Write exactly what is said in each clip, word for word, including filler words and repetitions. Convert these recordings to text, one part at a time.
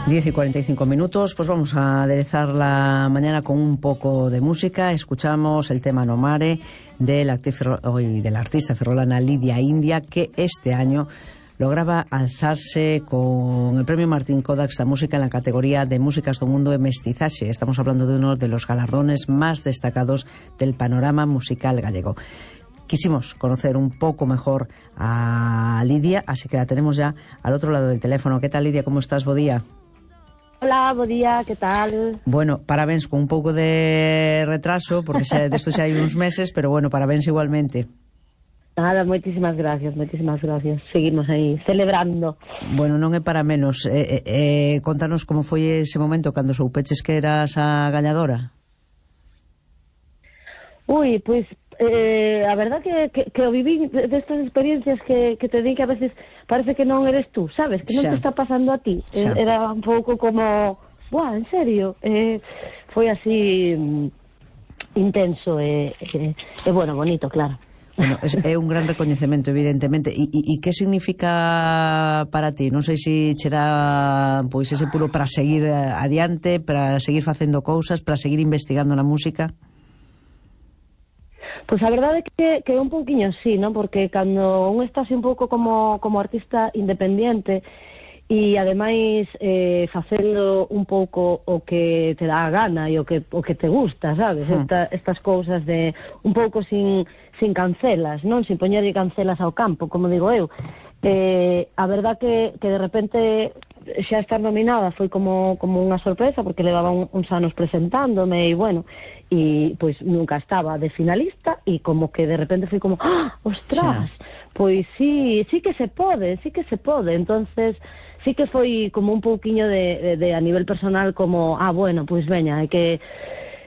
diez y cuarenta y cinco minutos, pues vamos a aderezar la mañana con un poco de música. Escuchamos el tema No Mare de la, actriz, hoy, de la artista ferrolana Lidia India, que este año lograba alzarse con el premio Martín Kodax a música en la categoría de Músicas do Mundo e Mestizaxe. Estamos hablando de uno de los galardones más destacados del panorama musical gallego. Quisimos conocer un poco mejor a Lidia, así que la tenemos ya al otro lado del teléfono. ¿Qué tal, Lidia? ¿Cómo estás? Bo día. Hola, bo día, que tal? Bueno, parabéns con un pouco de retraso, porque xa, de esto xa hai uns meses, pero bueno, parabéns igualmente. Nada, moitísimas gracias, moitísimas gracias. Seguimos aí, celebrando. Bueno, non é para menos. Eh, eh, contanos como foi ese momento cando soupeches que eras a gañadora. Ui, pois, eh, a verdad que, que, que o viví destas de experiencias que, que te di que a veces parece que non eres tú, sabes? Que non xa. te está pasando a ti. Xa. Era un pouco como, buah, en serio? Eh, foi así mm, intenso e, eh, eh, bueno, bonito, claro. Bueno, é, é un gran recoñecemento, evidentemente. E, e, e que significa para ti? Non sei se che dá pois ese puro para seguir adiante, para seguir facendo cousas, para seguir investigando na música. Pois a verdade é que, que é un pouquiño así, non? Porque cando un está así un pouco como, como artista independiente e ademais eh, facendo un pouco o que te dá a gana e o que, o que te gusta, sabes? Sí. Esta, estas cousas de un pouco sin, sin cancelas, non? Sin poñerlle cancelas ao campo, como digo eu. Eh, a verdad que, que de repente xa estar nominada foi como, como unha sorpresa, porque levaba un, uns anos presentándome e bueno, e pois nunca estaba de finalista e como que de repente foi como, ¡ah, ostras! Sí. Pois sí, sí que se pode, sí que se pode. Entonces sí que foi como un pouquiño de, de, de a nivel personal como, ah, bueno, pois veña, hai que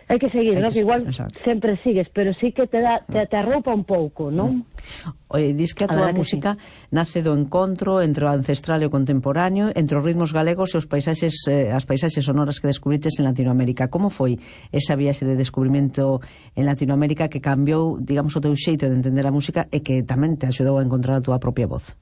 hai que seguir, non? Que igual exacto. Sempre sigues, pero sí que te, da, te, te arroupa un pouco, non? Oye, dis que a tua música sí. nace do encontro entre o ancestral e o contemporáneo, entre os ritmos galegos e os paisaxes, eh, as paisaxes sonoras que descubriches en Latinoamérica. Como foi esa viaxe de descubrimento en Latinoamérica que cambiou, digamos, o teu xeito de entender a música e que tamén te axudou a encontrar a tua propia voz?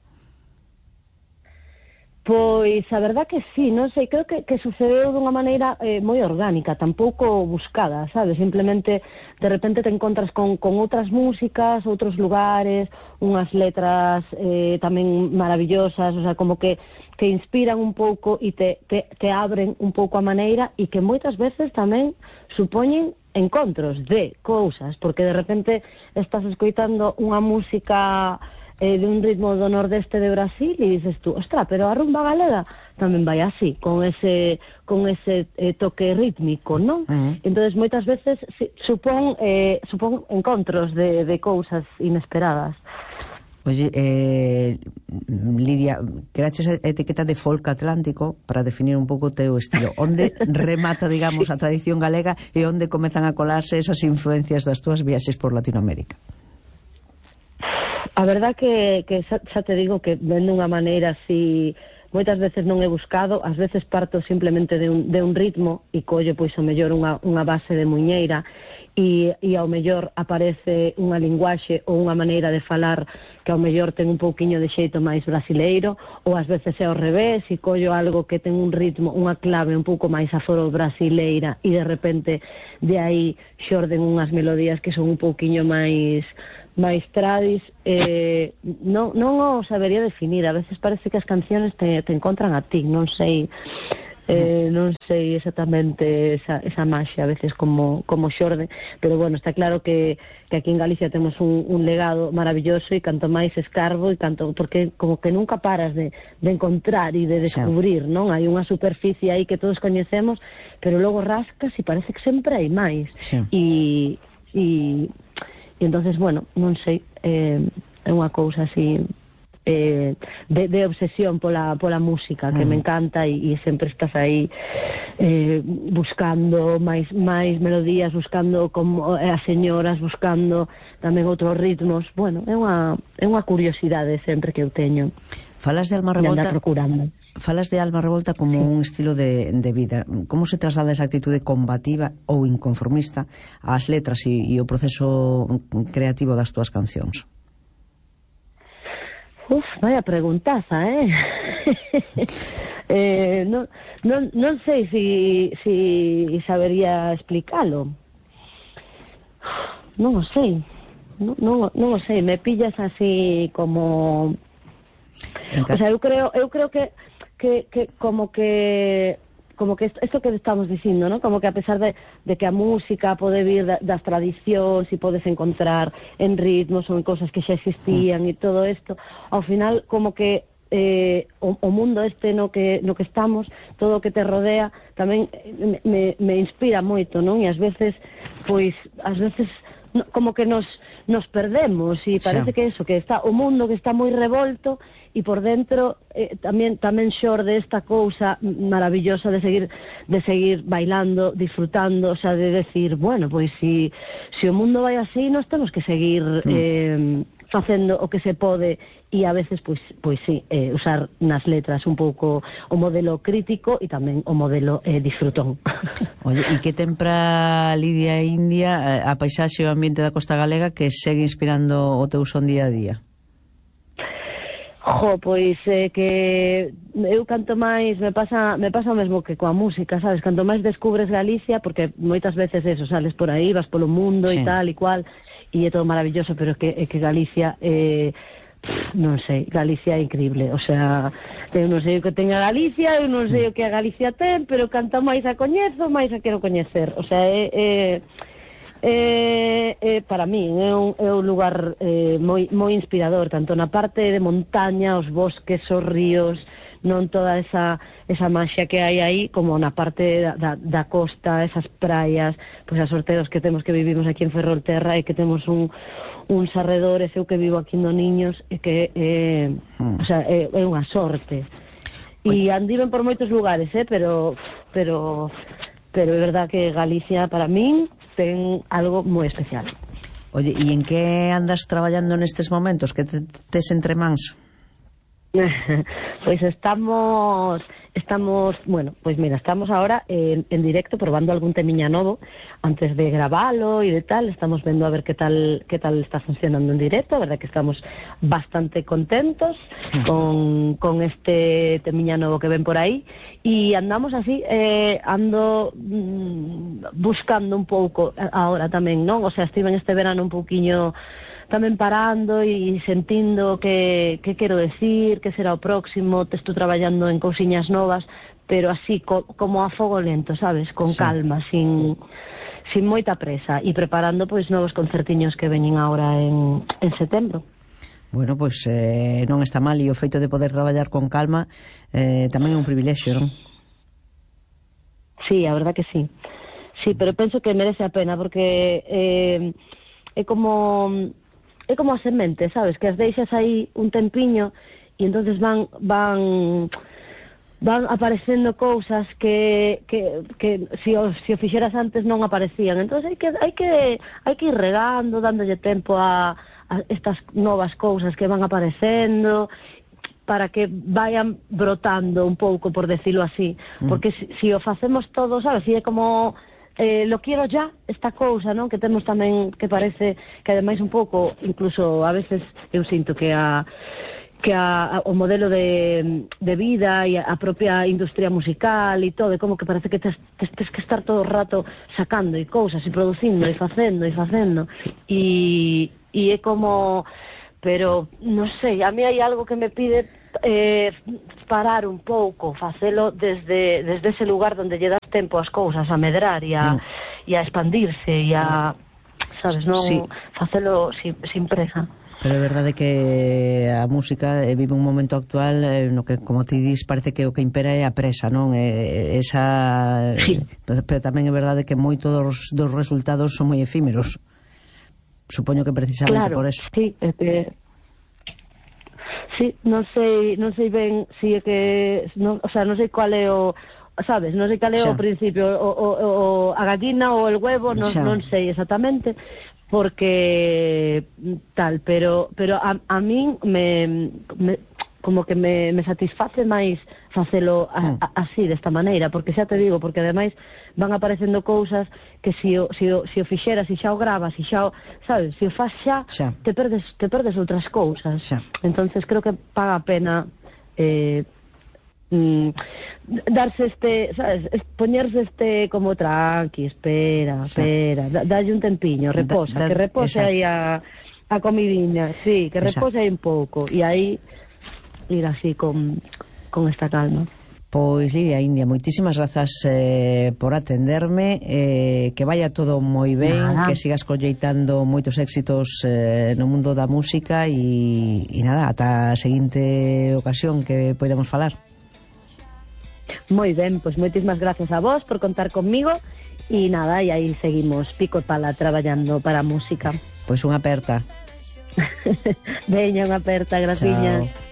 Pois a verdad que sí, non sei, creo que, que sucedeu dunha maneira eh, moi orgánica, tampouco buscada, sabes? Simplemente de repente te encontras con, con outras músicas, outros lugares, unhas letras eh, tamén maravillosas, o sea, como que, que inspiran un pouco e te, te, te abren un pouco a maneira e que moitas veces tamén supoñen encontros de cousas, porque de repente estás escoitando unha música Eh, de un ritmo do nordeste de Brasil e dices tú, ostra, pero a rumba galega tamén vai así, con ese con ese eh, toque rítmico, non? Uh -huh. Entonces moitas veces si, supón eh, supón encontros de, de cousas inesperadas. Oye, eh, Lidia, creaches a etiqueta de folk atlántico para definir un pouco o teu estilo. Onde remata, digamos, a tradición galega e onde comezan a colarse esas influencias das túas viaxes por Latinoamérica? A verdad que, que xa, xa te digo que ven dunha maneira así, moitas veces non he buscado, ás veces parto simplemente de un, de un ritmo e collo pois ao mellor unha, unha base de muiñeira e, e ao mellor aparece unha linguaxe ou unha maneira de falar que ao mellor ten un pouquiño de xeito máis brasileiro, ou ás veces é ao revés e collo algo que ten un ritmo, unha clave un pouco máis aforo brasileira e de repente de aí xorden unhas melodías que son un pouquiño máis máis tradis, eh, non, non o sabería definir. A veces parece que as canciones te, te encontran a ti, non sei eh, non sei exactamente esa, esa maxia a veces como, como xorde, pero bueno, está claro que, que aquí en Galicia temos un, un legado maravilloso e canto máis escarbo e canto, porque como que nunca paras de, de encontrar e de descubrir, sí. Non? Hai unha superficie aí que todos coñecemos, pero logo rascas e parece que sempre hai máis. Sí. E, e E entonces, bueno, non sei, eh, é unha cousa así eh, de, de obsesión pola, pola música que mm. me encanta e, e sempre estás aí eh, buscando máis, máis melodías, buscando como as señoras, buscando tamén outros ritmos. Bueno, é unha, é unha curiosidade sempre que eu teño. Falas de Alma Revolta, falas de Alma Revolta como sí. un estilo de, de vida. Como se traslada esa actitude combativa ou inconformista ás letras e, e o proceso creativo das túas cancións? Uf, vaya preguntaza, eh? eh, non, non, non sei si, si sabería explicalo. Non o sei. Non, non, non o sei, me pillas así como... O sea, eu creo, eu creo que, que, que como que... como que isto que estamos dicindo, ¿no? Como que a pesar de, de que a música pode vir da, das tradicións e podes encontrar en ritmos ou en cosas que xa existían e todo isto, ao final como que eh, o, o mundo este no que, no que estamos, todo o que te rodea tamén me, me inspira moito, non? E ás veces, pois, ás veces no, como que nos, nos perdemos e parece sí. que eso, que está o mundo que está moi revolto e por dentro eh, tamén tamén xorde esta cousa maravillosa de seguir de seguir bailando, disfrutando, o sea, de decir, bueno, pois si, si o mundo vai así, nós temos que seguir mm. eh, facendo o que se pode e a veces, pois, pois sí, eh, usar nas letras un pouco o modelo crítico e tamén o modelo eh, disfrutón. Oye, e que ten para Lidia India a paisaxe e o ambiente da costa galega que segue inspirando o teu son día a día? Jo, pois é eh, que eu canto máis, me pasa me pasa o mesmo que coa música, sabes? Canto máis descubres Galicia, porque moitas veces eso, sales por aí, vas polo mundo sí. e tal e cual, e é todo maravilloso, pero é que, é que Galicia eh, pff, non sei, Galicia é increíble, o sea, eu non sei o que ten a Galicia, eu non sei o que a Galicia ten, pero canto máis a coñezo, máis a quero coñecer, o sea, é... é Eh, eh, para mí é un, é un lugar eh, moi, moi inspirador, tanto na parte de montaña, os bosques, os ríos, non toda esa, esa maxia que hai aí, como na parte da, da, da costa, esas praias, pois as sorteos que temos que vivimos aquí en Ferrolterra e que temos un, uns arredores, eu que vivo aquí no Niños, e que eh, mm. o sea, é, é unha sorte. E andiven por moitos lugares, eh, pero, pero, pero é verdad que Galicia, para min, ten algo moi especial. Oye, e en que andas traballando nestes momentos? Que te, tes entre mans? Pois estamos, estamos, bueno, pois mira, estamos ahora en, en directo probando algún temiña novo antes de gravalo e de tal, estamos vendo a ver que tal que tal está funcionando en directo, a verdad que estamos bastante contentos con, con este temiña novo que ven por aí e andamos así, eh, ando mm, buscando un pouco ahora tamén, non? O sea, estive en este verano un pouquiño tamén parando e sentindo que, que quero decir, que será o próximo, te estou traballando en cousiñas novas, pero así, co, como a fogo lento, sabes? Con sí. calma, sin, sin moita presa, e preparando pois novos concertiños que veñen agora en, en setembro. Bueno, pois eh, non está mal, e o feito de poder traballar con calma eh, tamén é un privilexio, non? Sí, a verdad que sí. Sí, pero penso que merece a pena, porque eh, é como... é como a semente, sabes, que as deixas aí un tempiño e entonces van van van aparecendo cousas que que que si o, si o fixeras antes non aparecían. Entonces hai que hai que hai que ir regando, dándolle tempo a, a estas novas cousas que van aparecendo para que vayan brotando un pouco, por decirlo así, mm. porque si, si o facemos todo, sabes, si é como Eh, lo quiero ya, esta cousa, non? Que temos tamén, que parece que ademais un pouco, incluso a veces eu sinto que a que a, a, o modelo de, de vida e a, a propia industria musical e todo, e como que parece que tes, tes, tes que estar todo o rato sacando e cousas e producindo e facendo e facendo e, e é como, pero non sei, a mí hai algo que me pide eh, parar un pouco, facelo desde, desde ese lugar donde lle das tempo as cousas a medrar e a, mm. e a expandirse e a, sabes, non sí. facelo sin, sin presa. Pero é verdade que a música vive un momento actual eh, no que, como ti dis, parece que o que impera é a presa, non? Eh, esa sí. pero, pero tamén é verdade que moitos dos, dos resultados son moi efímeros. Supoño que precisamente claro, por eso. Sí, é que sí, non sei, non sei ben si é que, non, o sea, non sei cual é o, sabes, non sei cal é o principio, o, o, o, a gallina ou el huevo, non, non sei exactamente, porque tal, pero pero a, a min me, me como que me, me satisface máis facelo a, a, así, desta maneira, porque xa te digo, porque ademais van aparecendo cousas que si o, si o, si o fixeras, si xa o gravas, si xa o, sabes, si o faz xa, xa. te perdes te perdes outras cousas. Xa. Entonces creo que paga a pena eh, mm, darse este, sabes, poñerse este como tranqui, espera, espera, da, dalle un tempiño, reposa, da, da, que repose exacto. aí a, a comidiña, sí, que exacto. repose aí un pouco, e aí ir así con, con esta calma. Pois Lidia India, moitísimas grazas eh, por atenderme, eh, que vaya todo moi ben, nada. Que sigas colleitando moitos éxitos eh, no mundo da música e, e nada, ata a seguinte ocasión que podemos falar. Moi ben, pois moitísimas grazas a vos por contar conmigo e nada, e aí seguimos pico e pala traballando para a música. Pois unha aperta. Veña, unha aperta, graciñas. Chao.